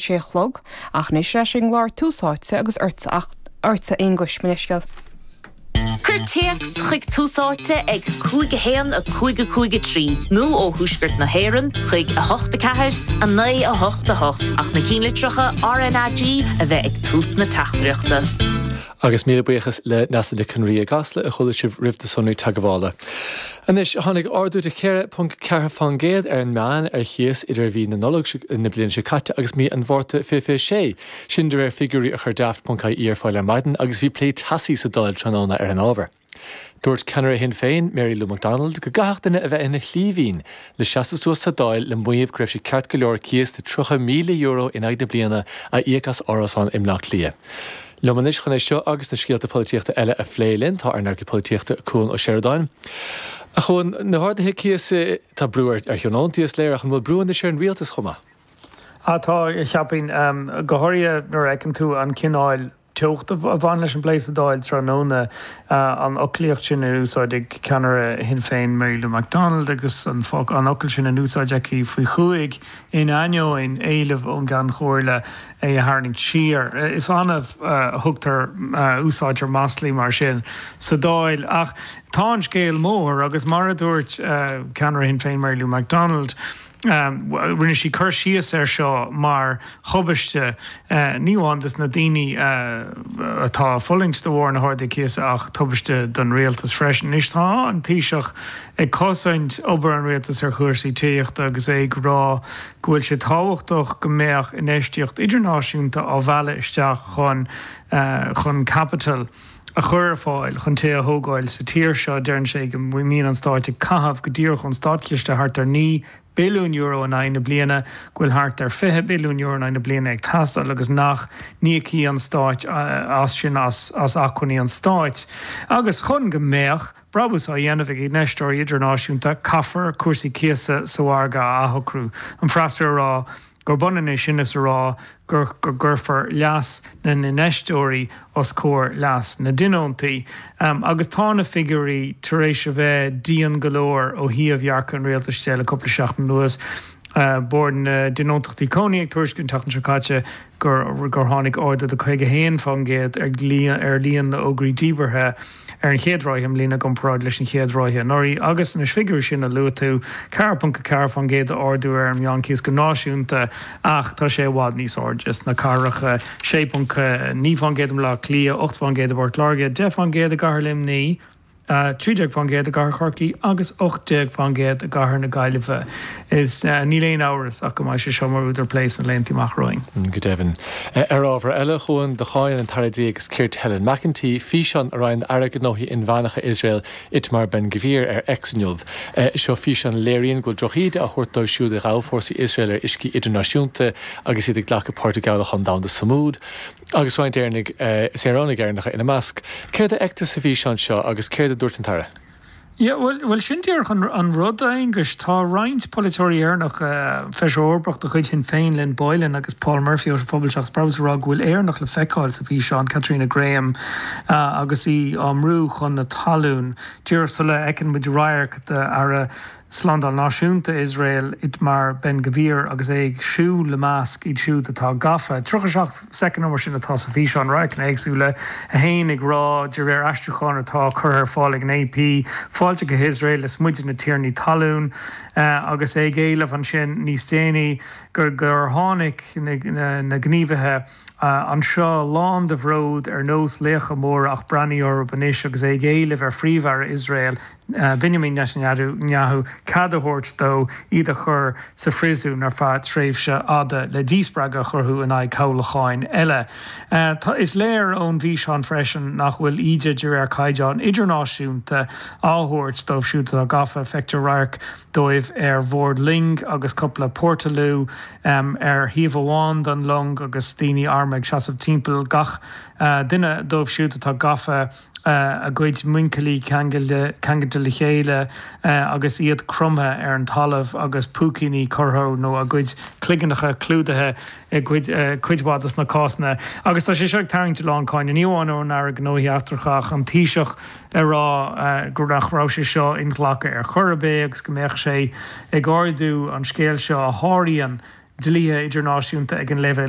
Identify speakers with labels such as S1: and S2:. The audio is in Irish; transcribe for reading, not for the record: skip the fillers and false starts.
S1: 6 a chlog. Ach anois ar ais ag an gclár Tús Áite agus ortsa, a Aonghuis, mo leithscéal.
S2: Cuir téacs chuig Tús Áite ag 5 1 5 5 3 nó ó Thuaisceart na hÉireann chuig 8 4 9 8 8 ach na cinnlitreacha RnaG a bheith ag tús na teachtaireachta.
S3: Agus míle buíochas le Neasa Nic Con Rí i gCasla a chuala sibh roimh na sonraí teagmhála. Anois, tháinig ardú de 4.4 fán gcéad ar an meán ar chíos idir mhí na Nollag na bliana seo caite agus mí an Mhárta 2026. Sin de réir figiúirí a chuir Daft.ie ar fáil ar maidin agus bhí plé teasaí sa Dáil tráthnóna ar an ábhar. Dúirt ceannaire Shinn Féin, Mary Lou McDonald, go gcaithfeadh duine a bheith ina shlíbhín le seasamh suas sa Dáil le maíomh go raibh sé ceart go leor cíos de €30,000 in aghaidh na bliana a íoc as árasán i mBleá Cliath. Liom anois chun é seo agus na scéalta polaitíochta eile a phlé linn tá ár n-earcaí polaitíochta, Cuan Ó Seireadáin. A Chuain, na harduithe cíosa, tá brú ar thionóntaí is léir ach an bhfuil brú anois ar an rialtas chomh maith?
S4: Ah tá, cheapfainn. Go háirithe nuair a fheiceann tú an cineál teochta a bhain leis an bplé sa Dáil tráthnóna, an fhoclaíocht sin in úsáid ag ceannaire Shinn Féin Mary Lou McDonald agus an focal sin in úsáid aici faoi chúig in ainneoin éileamh ón gCeann Comhairle é a tharraingt siar. Is annamh a thugtar, a úsáidtear maslaí mar sin sa Dáil ach tá an scéal mór agus mar a dúirt ceannaire Shinn Féin Mary Lou McDonald, Rinne sí cur síos air seo mar thubaiste, ní amháin dos na daoine atá ag fulaingt de bharr na harduithe cíosa ach tubaiste don rialtas freisin. Anois tá an Taoiseach ag cosaint obair an rialtais ar chúrsaí tithíochta agus é ag rá go bhfuil sé tábhachtach go mbeadh infheistíocht idirnáisiúnta á mhealladh isteach chun chun caipiteal a chur ar fáil chun tithe a thógáil sa tír seo. Deireann sé go mbíonn an stáit ag caitheamh go díreach ón státchiste thart ar €9 billiún in aghaidh na bliana, go bhfuil thart ar €20 billiún in aghaidh na bliana ag teastáil agus nach n-íocfaidh an stáit as sin as acmhainní an stáit. Agus chun go mbeadh brabús á dhéanamh ag infheisteoirí idirnáisiúnta, caithfear cúrsaí cíosa sa mhargadh a athshocrú. An freasúra a rá gurb ionann é sin is a rá go gcuirfear leas na n-infheisteoirí os comhair leas na dtionóntaí. Agus tá na figiúirí tar éis a bheith dian go leor ó thaobh dhearcadh an rialtais de le cúpla seachtain anuas. Bord na dTionóntachtaí Cónaithe ag tuairisciú an tseachtain seo caite gur tháinig ardú de 51% ar líon na bhfógraí díbeartha ar an chéad ráithe i mbliana i gcomparáid leis an chéad ráithe anuraidh. Agus na figiúirí sin a luaigh tú, 4.4% d'ardú ar an meánchíos go náisiúnta ach tá sé i bhfad níos airde sna cathracha, 6.9% i mBaile Átha Cliath, 8% i bPort Láirge, 10% i gCathair Luimnigh, 13% i gCathair Chorcaí agus 18% i gCathair na Gaillimhe. Is níl aon amhras ach go mbeidh sé seo mar údar plé sna laethanta amach romhainn.
S3: Go deimhin. Ar ábhar eile, a Chuain, do cháin an tAire Dlí agus Cirt Helen McEntee físeán a roinn Aire Gnóthaí Inmheánacha Iosrael Itamar Ben-Gvir ar X inniu. Seo físeán a léiríonn go bhfuil drochíde á thabhairt dóibh siúd a ghabh fórsaí Iosrael ar uiscí idirnáisiúnta agus iad ag glacadh páirt i gcabhlach domhanda Sumud. Agus roinnt Éireannaigh, saoránaigh Éireannacha ina measc. Céard a fheictear sa bhfíseán seo agus céard a dúirt an tAire?
S4: Yeah, bhuel, bhuel sin díreach an, an rud, a Aonghuis. Tá roinnt polaiteoirí Éireannacha, Feisire Eorpach de chuid Shinn Féin, Lynn Boylan agus Paul Murphy ó Phobal Seachas Brabús ag rá go bhfuil Éireannach le feiceáil sa bhfíseán, Catriona Graham, agus í á mbrú chun na talún. Díreach sula fheiceann muid radharc d'Aire Slándáil Náisiúnta Iosrael, Itamar Ben Gvir, agus é ag siúl i measc iad siúd atá gafa. 37 soicind nó mar sin atá sa bhfíseán, radharcanna éagsúla, é féin ag rá, de réir aistriúcháin atá curtha ar fáil ag an AP, Fáilte go hIosrael, is muide na tiarnaí talún, agus é ag éileamh ansin níos déanaí gur gur tháinig na gníomhaithe anseo lán de bhród ar nós laochra móra ach breathnaigh orthu anois agus é ag éileamh ar Phríomh-Aire Iosrael, Benjamin Netanyahu cead a thabhairt dó iad a chur sa phríosún ar feadh tréimhse fhada le díspreagadh a chruthú in aghaidh cabhlacháin eile. Tá is léir ón bhfíseán freisin nach bhfuil íde de réir caighdeán idirnáisiúnta á thabhairt dóibh siúd atá gafa. Feictear radharc dóibh ar bhord loing agus cúpla portaloo ar thaobh amháin den long agus daoine armtha ag seasamh timpeall gach duine dóibh siúd atá gafa. a gcuid muinchillí ceangailte le chéile agus iad cromtha ar an talamh agus púicíní curtha nó a gcuid cloiginneacha clúdaithe i gcuid mhaith de na cásanna. Agus tá sé seo ag tarraingt a lán cáinte, ní amháin ón Aire Gnóthaí Eachtracha ach an Taoiseach ag rá go nach raibh sé seo inghlactha ar chor ar bith agus go mbeadh sé ag ardú an scéal seo a sháraíonn dlíthe idirnáisiúnta ag an leibhéal.